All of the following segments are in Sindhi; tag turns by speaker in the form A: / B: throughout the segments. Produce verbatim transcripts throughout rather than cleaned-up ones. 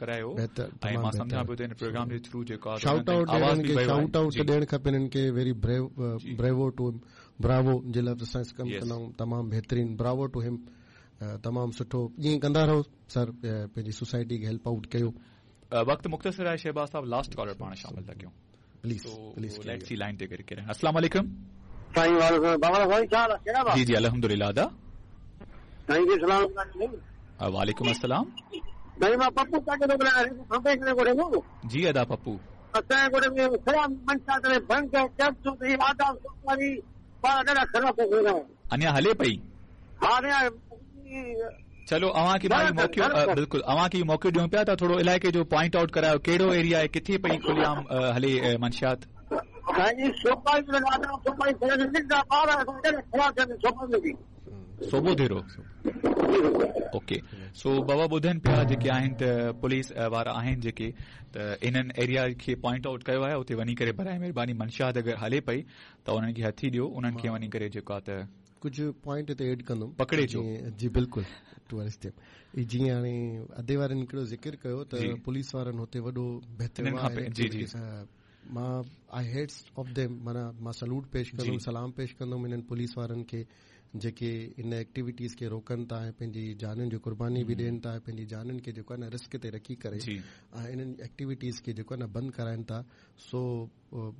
A: ڪرايو
B: بهتر
A: ۽
B: تمام
A: مان سمجهان
B: بهتر
A: پيو ته هن پروگرام جي ٿرو جيڪو آهي
B: شائوٽ آئوٽ
A: آواز
B: ڏيڻ
A: به
B: کي
A: ويو
B: شائوٽ
A: آهي
B: آئوٽ
A: جي
B: ڏيڻ کپي هنن کي ويري بريو
A: جي
B: بريوو ٽو براوو جي لفظ سان ڪم
A: يس
B: ڪندا آهيون تمام بهترين براوو ٽو هم تمام سٺو ائين ڪندا رهو سر پنهنجي سوسائٽي کي هيلپ آئوٽ ڪيو
A: وقت مختصر آهي شهباز صاحب لاسٽ ڪالر پاڻ شامل ٿا ڪيون
B: please
A: so
B: please
A: let's see line تي ڪري ڪري السلام عليڪم
C: سائين وعليڪم بابا سائين ڇا حال آهي ڪهڙا
A: جي جي الحمدلله ادا
C: سائين جي سلام
A: وعليڪم السلام
C: سائين مان پپو ڪاڪي ٿو ڳالهايان کنڀي ڪري ڳوٺ مان
A: جي ادا پپو
C: اسان جي ڳوٺ ۾ خراب منشا ڪري ڀنگ ڪيپسول هي آداب سوپاري پاڻ ڏاڍا خراب ٿا ٿي رهيا
A: اڃا هلي پئي
C: ها نه
A: چلو اوهان کي مان موقعو بلڪل اوهان کي موقعو ڏيون پيا ته ٿورو علائقي جو پوائنٽ آئوٽ ڪرايو ڪهڙو ايريا آهي ڪٿي پئي کليام هلي منشيات
C: سائين سوپاري آداب سوپاري ننڍا ٻار ڏاڍا خراب ٿيا سوپاري به
A: صوبو ڌيرو اوڪي سو بابا ٻڌن پيا جيڪي آهن ته پوليس وارا آهن جيڪي ته انهن ايريا کي پوائنٽ آئوٽ ڪيو آهي اتي وڃي ڪري برائي مهرباني منشيات اگر هلي پئي ته انهن کي هٿي ڏيو انهن کي وڃي ڪري جيڪو آهي ته
B: ڪجهه پوائنٽ هتي ايڊ ڪندم
A: پڪڙي اچو
B: جي بلڪل ٽوئرسٽ جيئن هاڻي ادي وارن هڪڙو ذڪر ڪيو ته پوليس وارن هتي وڏو بهتر
A: جي جي
B: مان I hats off them معنيٰ مان سلوٽ پيش ڪندم سلام پيش ڪندم انهن پوليس وارن کي جيڪي ان ايڪٽيوٽيز کي روڪن ٿا ۽ پنهنجي جانن جي قرباني به ڏين ٿا ۽ پنهنجي جانن کي جيڪو آهي نه رسڪ تي رکي ڪري ۽ انهن ايڪٽيوٽيز کي جيڪو آهي نه بند ڪرائن ٿا سو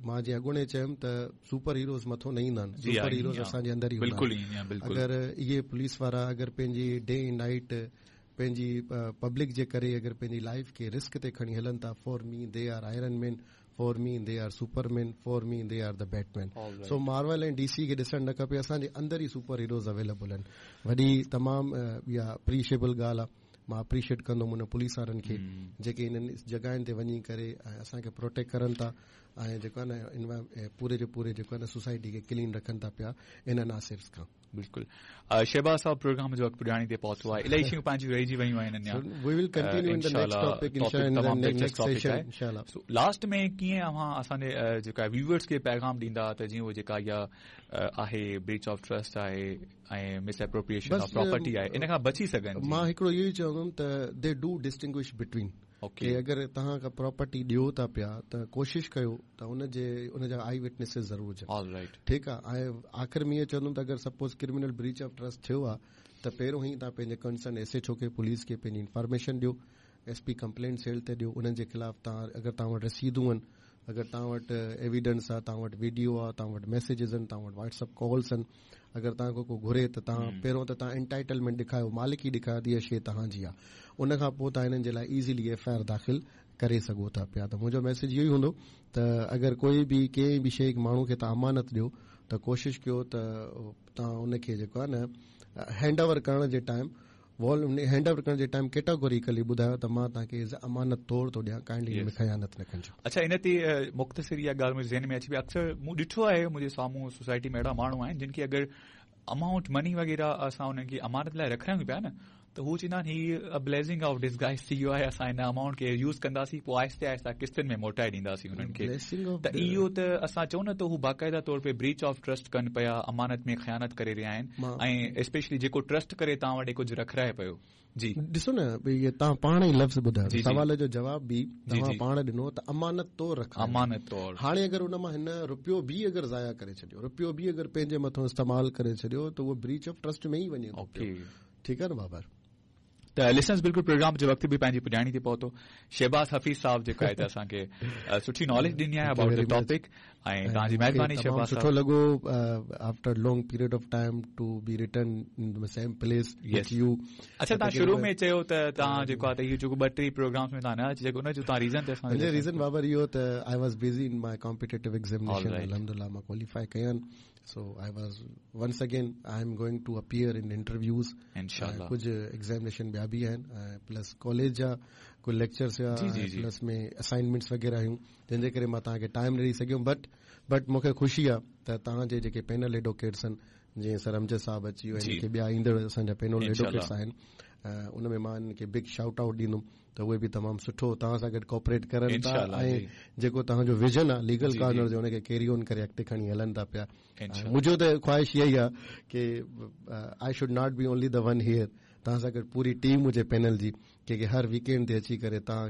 B: مان جيئن اڳوڻي چيم ته سپر هيروز مٿو نه ايندا آهن سپر هيروز اسان جي اندر ئي هوندا آهن اگر اهي پوليس وارا اگر پنهنجي ڊي نائيٽ پنهنجي پبلڪ جي ڪري اگر پنهنجي لائيف کي رسڪ تي کڻي هلن ٿا for me they are Iron Man for me they are Superman for me they are the Batman so Marvel ۽ D C کي ڏسڻ نه کپي اسان جي اندر ئي سپر هيروز اويليبل آهن وڏي تمام اها اپريشيبل ڳالهه آهي مان اپريشيئيٽ ڪندم ان پوليس وارن کي جيڪي انهن جڳهين تي وڃي ڪري ۽ اسان کي پروٽيڪٽ ڪرن ٿا ۽ جيڪو آهي نه پوري جو پوري جيڪو آهي نه سوسائٽي کي ڪلين رکن ٿا پيا ان عناصر کان
A: بلڪل شهباز صاحب پروگرام جو وقت پڄاڻي تي پهتو آهي الاهي شيون پنهنجون رهجي ويون آهن اڃا
B: we will continue in the next topic انشاءالله next session انشاءالله
A: سو لاسٽ ۾ ڪيئن اوهان اسان جي جيڪا ويوئرز کي پيغام ڏيندا ته جيئن اهو جيڪا اها آهي بريچ آف ٽرسٽ آهي ۽ مس اپروپريئيشن آف پراپرٽي آهي ان کان بچي سگهن
B: مان هڪڙو اهو ئي چوندم ته they do distinguish between
A: okay
B: اگر توهان ڪا پراپرٽي ڏيو ٿا پيا ته ڪوشش ڪيو ته ان جي ان جا آئي وٽنيسز ضرور هجن
A: آل رائيٽ
B: ٺيڪ آهي ۽ آخر ۾ اهو چوندم ته اگر suppose criminal breach of trust ٿيو آهي ته پهريون ئي توهان پنهنجي ڪنسرن ايس ايڇ او کي پوليس کي پنهنجي انفارميشن ڏيو ايس پي ڪمپلينٽ سيل تي ڏيو انهن جي خلاف توهان اگر توهان وٽ رسيدون آهن اگر توهان وٽ ايويڊنس آهي توهان وٽ وڊيو آهي توهان وٽ ميسيجز آهن توهان وٽ واٽس ايپ ڪالس آهن اگر توهان کان ڪو گهري ته توهان پهريون ته توهان انٽائٽلمينٽ ڏيکايو مالڪي ڏيکايو ته اها شيءِ توهان جي آهي ان کان پوءِ توهان هنن جي لاءِ ايزلي ايف I R داخل ڪري سگهو ٿا پيا ته منهنجو ميسيج اهو ئي هوندو ته اگر ڪوئي به ڪنهن به شيءِ ماڻهو کي توهان امانت ڏيو ته ڪوشش ڪيو ته توهان ان کي جيڪو آهي نه هينڊ اوور ڪرڻ جي ٽائيم وال هينڊ اوور ڪرڻ جي ٽائيم ڪيٽاگوريڪلي ٻڌايو ته مان توهان کي ايز امانت طور ٿو ڏيان ڪائنڊلي هن ۾ خيانت نه ڪجو
A: اڇا ان تي مختصر اها ڳالهه منهنجي ذهن ۾ اچي وئي اڪثر مون ڏٺو آهي منهنجي سامهون سوسائٽي ۾ اهڙا ماڻهو آهن جن کي اگر امائونٽ مني وغيره اسان انهن کي امانت لاءِ رکرايون پيا نه ته هو چوندا آهن هي بليسنگ آف ڊسگائز ٿي ويو آهي اسان هن امائونٽ کي يوز ڪنداسين پوءِ آهستي آهستي قسطن ۾ موٽائي ڏينداسين انهن کي ته اهو ته اسان چئون نه ته هو باقاعده طور تي بريچ آف ٽرسٽ ڪن پيا امانت ۾ خيانت ڪري رهيا آهن ۽ اسپيشلي جيڪو ٽرسٽ ڪري توهان وٽ ڪجهه رکرائي پيو جي
B: ڏسو نه ڀئي اهي توهان پاڻ ئي لفظ ٻڌايو سوال جو جواب به توهان پاڻ ڏنو ته امانت طور رک
A: امانت طور
B: هاڻي اگر ان مان هن رپيو به اگر ضايع ڪري ڇڏيو رپيو به اگر پنهنجي مٿان استعمال ڪري ڇڏيو ته اهو بريچ آف ٽرسٽ ۾ ئي وڃي ٿو
A: اوڪي
B: ٺيڪ آهي نه بابر
A: ته لسنرز بلڪل پروگرام جو وقت به پنهنجي پڄاڻي تي پهتو شهباز حفيظ صاحب جيڪو آهي ته اسان کي سٺي ناليج ڏني آهي ابائوٽ the topic ۽ توهان جي مهرباني شهباز
B: سٺو لڳو after long period of time to be return in the same place with you
A: اڇا توهان شروع ۾ چيو ته توهان جيڪو آهي ته اهو جيڪو ٻه ٽي پروگرامز ۾ توهان نه اچي سگهو ان جو توهان ريزن ته اسان
B: منهنجو ريزن بابر اهو ته I was busy in my competitive examination الحمدلله مان ڪواليفائي ڪيا آهن so I was once again I am going to appear in interviews
A: انشاءالله
B: ڪجهه ايگزامينيشن ٻيا به آهن ۽ پلس ڪاليج جا ڪجهه ليڪچرس هئا پلس ۾ اسائنمينٽس وغيره هيون جنهن جي ڪري مان توهان کي ٽائيم نه ڏئي سگهيم بٽ بٽ مون کي خوشي آهي ته توهان جي جيڪي پينل ايڊووڪيٽس آهن جيئن سر امجد صاحب اچي ويو جيڪي ٻيا ايندڙ اسان جا پينل ايڊووڪيٽس آهن ان ۾ مان انهن کي بگ شائوٽ آئوٽ ڏيندم ته اهي به تمام سٺو توهان سان گڏ ڪوآپريٽ ڪرن ٿا ۽ جيڪو توهان جو ويزن آهي ليگل ڪارنر جو ان کي ڪيري آن ڪري اڳتي کڻي هلن ٿا پيا منهنجو ته خواهش اها ئي آهي ڪه I should not be only the one here توهان سان گڏ پوري ٽيم هجي پينل جي ڪي هر ويڪ اينڊ تي اچي ڪري توهان